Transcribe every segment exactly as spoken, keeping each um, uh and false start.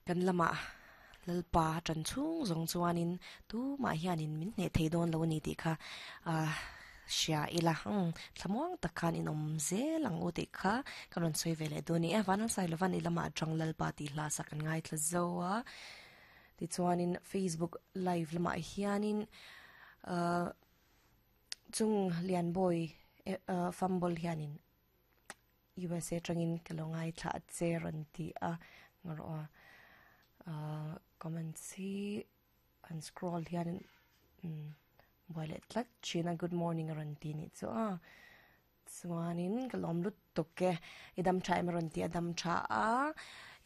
Kan lama lalpa tran chung zong chuanin tu ma hianin min hne thei dawn lo ni ti kha a sia ila um thlamuang takhan in om zelang u ti kha kan ron soi vele du ni e vanan sai lovan ilama atang lalpa ti hla sak an ngai thla zo a. Ti chuanin Facebook live lama hianin uh, chung lian boy uh, fumble hianin U S A tangin kalongai thla che ron ti a ngaro a uh, comments hi an scroll hianin um, boilet tlat china good morning ron ti ni chu a chuanin kalom lut toke idam tha em ron ti adam tha a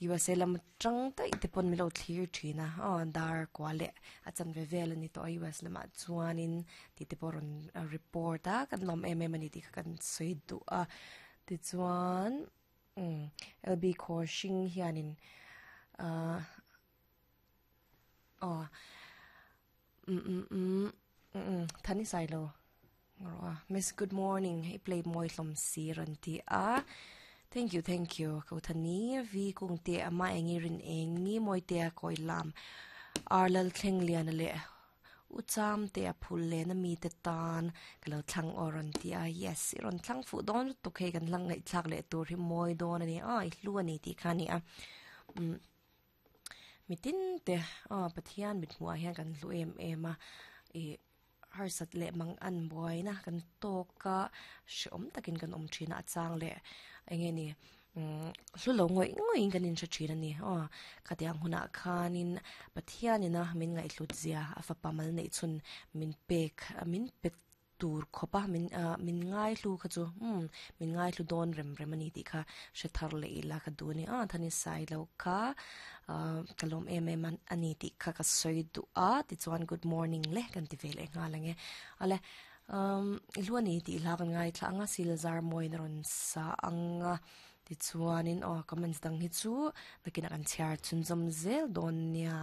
U S A lam tang tai te pon milo thlir thina a dar kwale a chan ve vel ani to U S lama chuanin ti te poron report a kan lom em em ani ti kan soi du a ti chuan um L B Khoshing hianin a oh mm mm mm mm thani sai lo ngro miss good morning I play moi hlom si ran ti a. Thank you, thank you. Ko thani vi kung te ama engi rin engi moi te koi lam arlal thleng lian le ucham te a phul le na mi te tan kalo thlang oron ti a. Yes, ron thlang fu don tu khe kan lang ngai thlak le tur hi moi don ani a i hlu ani ti khani a. Um mitin te a pathian mit hmuah hian kan hlu em em a e har sat le mang an boy na kan toka hreawm takin kan awm thin a chang le enge ni hlu lo ngoi ngoi kan in hre thin ani aw khatiang huna khanin pathianina min ngai hlut zia a fa pamal nei chun min pek min pet tur khopa min min ngai hlu kha chu um min ngai hlu don rem rem ani ti kha hre thar le ila kha du ni a thani sai lo kha kalom em em ani ti kha ka soi du a ti chuan good morning le kan ti vel enga lange ale um iluani ti la kan ngai thla anga silzar moin ron sa anga ti chuanin aw comments dang hi chu nakina kan chhiar chunzawm zel dawn nia.